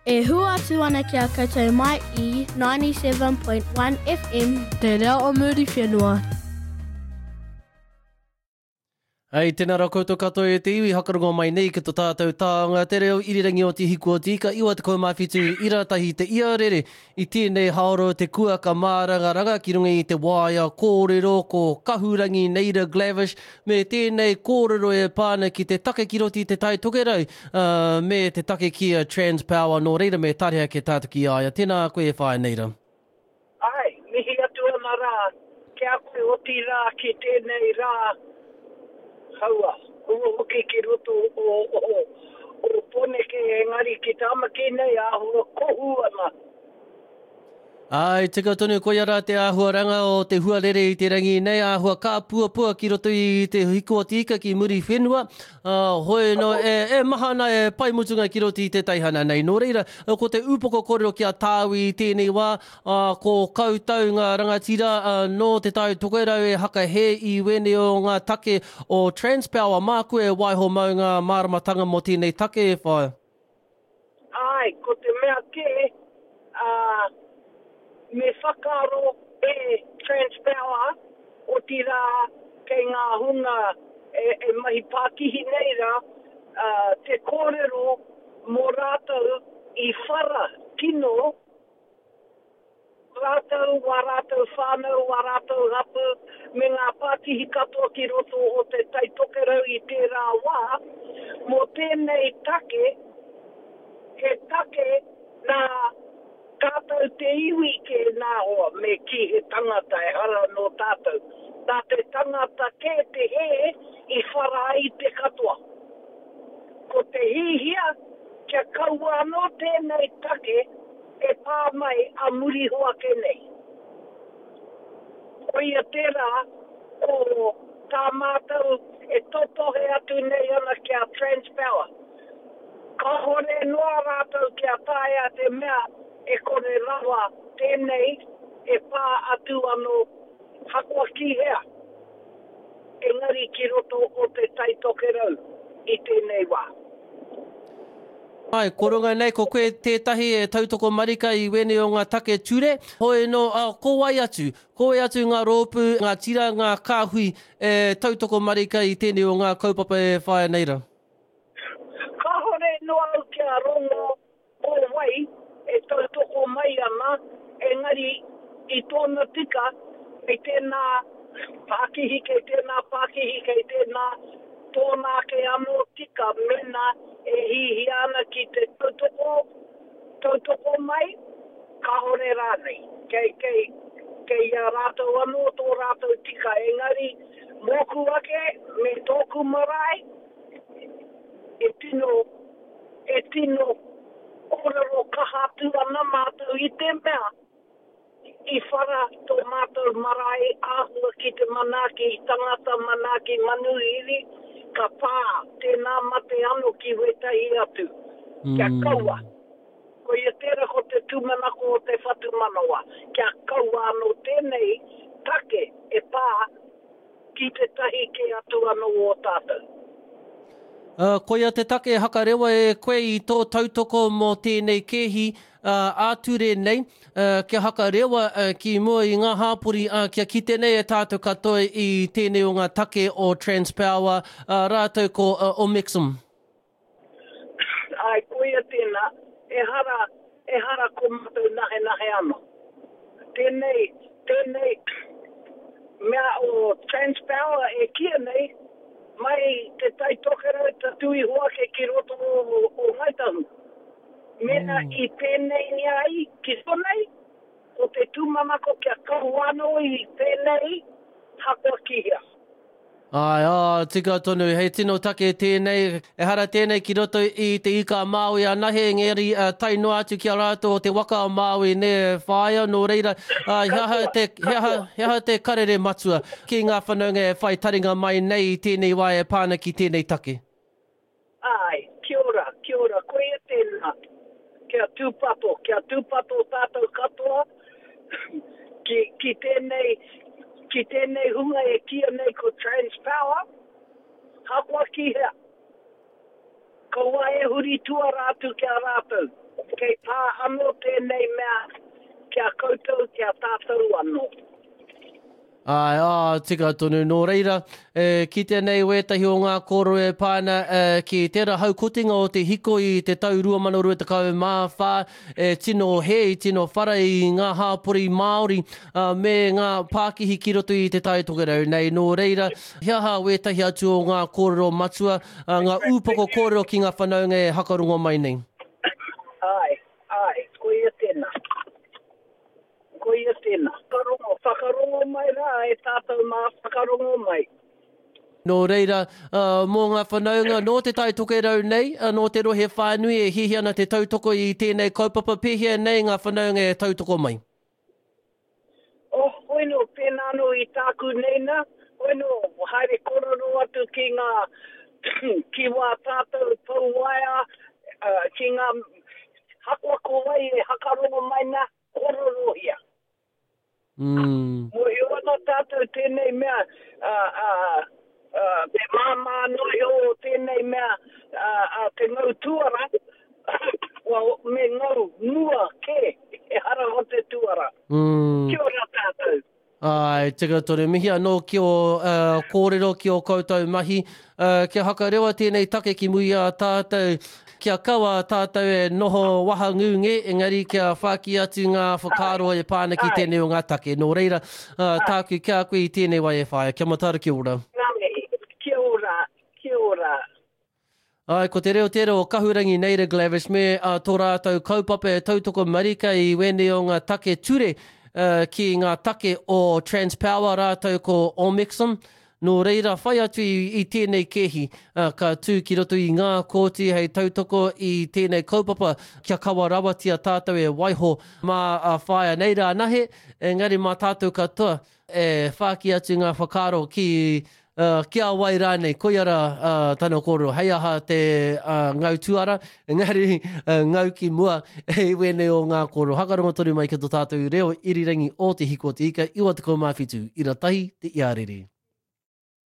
E hua atu ana ki a koutou mai i 97.1 FM. Te Reo o Muriwhenua. Hei, tēnā rā koutou katoa e te iwi, hakarongo mai nei ki to tātou tāonga, te reo irirangi o Te Hiku o Te Ika, 97 ira tahi te ia rere i tēnei haora o te kuaka mārangaranga ki runga i te waea kōrero ko Kahurangi Neira Glavish me tēnei kōrero e pā ana ki te take ki roto i te Tai Tokerau, ā, me te take ki a Transpower, nō reira me tareha ke tātou ki a ia. Tēnā koe e whaea Neira. Āe, mihi atu ana rā ki a koe otirā ki tēnei rā haua, hua hoki ki roto o, o, o Poneke engari ki Tāmaki nei āhua kohu ana. Āe, tika tonu, koia rā te āhuaranga o te huarere i te rangi nei, āhua kāpuapua ki roto i te hiko o te ika ki Muriwhenua, ā, hoi nō, e, e maha ana e pai mutunga ki roto i te teihana nei. Nō reira, ko te upoko kōrero ki a tāu i tēnei wā, ā, ko koutou ngā rangatira nō Te Tai Tokerau e hakahē i wēnei o ngā take o Transpower, māku e waiho mau ngā māramatanga mō tēnei take e whaia. Āe, ko te mea kē, ā, me whakaaro e Transpower, otirā kei ngā hunga e mahi pākihi nei rā, ā, te kōrero mō rātou i whara kino, Rātou, wā rātou whānau, wā rātou hapū, me ngā pākihi katoa ki roto o Te Tai Tokerau i tērā wā, mō tēnei take, he take nā tātou te iwi kē nā hoa, me kī he tangata ehara nō tātou. Nā te tangata kē te hē i whara ai te katoa. Ko te hihia kia kaua anō tēnei take e pā mai a muri iho ake nei. Koia tērā ko tā mātou e totohe atu nei ana ki a Transpower. Kāhore noa rātou kia taea te mea e kore rawa tēnei e pā atu anō hakoa ki hea, engari ki roto o Te Tai Tokerau i tēnei wā. Āe, ko runga nei ko koe tētahi e tautoko marika i wēnei o ngā take ture, hoi nō, ā, ko wai atu, ko wai atu ngā rōpū, ngā tira, ngā kāhui e tautoko marika i tēnei o ngā kaupapa e whāia nei rā? Kāore noa au kia rongo ko wai e tautoko mai ana, engari i tōna tika kei tēnā pākihi, kei tēnā pākihi, kei tēnā tōna ake anō tika mēnā e hihia ana ki te tautoko, tautoko mai, kāore rānei. Kei, kei, kei a rātou anō tō rātou tika, engari mōku ake me tōku marae e tino E tino kōrero kaha atu ana mātou i te mea i whara tō mātou marae āhua ki te manaaki tangata, manaaki manuhiri, ka pā tēnā mate ano ki wētahi atu. Kia kaua. Koia tērā ko te tūmanako o te whatumanawa, kia kaua anō tēnei take e pā Ki tētahi kē atu anō o tātou. Ā, koia te take e hakarewa e koe i tō tautoko mō tēnei kēhi ā-ture nei, kia hakarewa ki mua i ngā hāpori, ā, kia kite nei e tātou katoa i tēnei o ngā take o Transpower, ā, rātou ko Omexom. Āe, koia tēnā, ehara, ehara ko mātou nahenahe anō. Tēnei, tēnei mea o Transpower e kīia nei, mai Te Tai Tokerau tatū iho ake ki roto o, o Ngāi Tahu. Mēnā i pēneingia ai ki konei, ko te tūmanako kia kaua anō i pēnei, hakoa ki hea. Āe, ā, tika tonu, he tino take tēnei, ehara tēnei ki roto i te Ika a Māui anahe, engari tae noa atu ki a rātou o te waka a Māui, nē, whāia, nō reira, ā, he aha te, he aha, he aha te karere matua ki ngā whanaunga e whai taringa mai nei i tēnei wā e pā ana ki tēnei take? Āe, kia ora, kia ora, koia tēnā, kia tūpato, kia tūpato tātou katoa ki, ki tēnei, ki tēnei hunga e kīia nei ko Transpower, hakoa ki hea, kaua e huri tuara atu ki a rātou. Kei pā anō tēnei mea ki a koutou, ki a tātou anō. Āe, ā, tika tonu. Nō reira, e kitea nei wētahi o ngā kōrero e pā ana ki tērā haukotinga o te hiko i te tau 2024, e tino hē, i tino whara i ngā hāpori Māori me ngā pākihi ki roto i Te Tai Tokerau nei. Nō reira, he aha wētahi atu o ngā kōrero matua, ngā ūpoko kōrero ki ngā whanaunga e hakarongo mai nei? Āe, āe, koia tēnā. Koia tēnā. Whakarongo, whakarongo mai rā e tātou mā, whakarongo mai. Nō reira, mō ngā whanaunga nō Te Tai Tokerau nei, nō te rohe whānui e hiahia ana te tautoko i tēnei kaupapa, pēhea nei ngā whanaunga e tautoko mai? Oh, hoino, pēnā anō i tāku nei nā, hoino, haere korero atu ki ngā, ki wā tātou pou waea, ki ngā, hakoa ko wai e hakarongo mai nā, Kororohia. Mm. Mōhio ana tātou tēnei mea, a, a, a, te māmā noa iho o tēnei mea, a, a, te ngau tuara, well, me ngau mua kē, ehara ko te tuara. Mm. Kia ora tātou. Āe, tika tonu. Mihi anō ki ō kōrero, ki ō koutou mahi. Kia hakarewa tēnei take ki muri i a tātou, kia kaua tātou e noho wahangū ngē, engari kia whāki atu ngā whakaaro e pā ana ki tēnei o ngā take. Nō reira, tāku ki a koe i tēnei wā e whāia. Kia mataara, kia ora. Ngā mihi. Kia ora, kia ora. Āe, ko te reo tērā o Kahurangi Naida Glavish me tō rātou kaupapa e tautoko marika i wēnei o ngā take ture ki ngā take o Transpower rātou ko Omexom. Nō reira, whai atu i tēnei kēhi ka tū ki roto i ngā kōti hei tautoko i tēnei kaupapa kia kawa rawatia tātou e waiho mā Whaea Neira anahe, engari mā tātou katoa E whāki atu ngā whakaaro ki, ki a wai rānei, koia rā tana kōrero, hei aha te ngau tuara, engari ngau ki mua i wēnei o ngā kōrero. Hakarongo tonu mai ki tō tātou reo irirangi o Te Hiko o Te Ika, 97 ira tahi te iarere.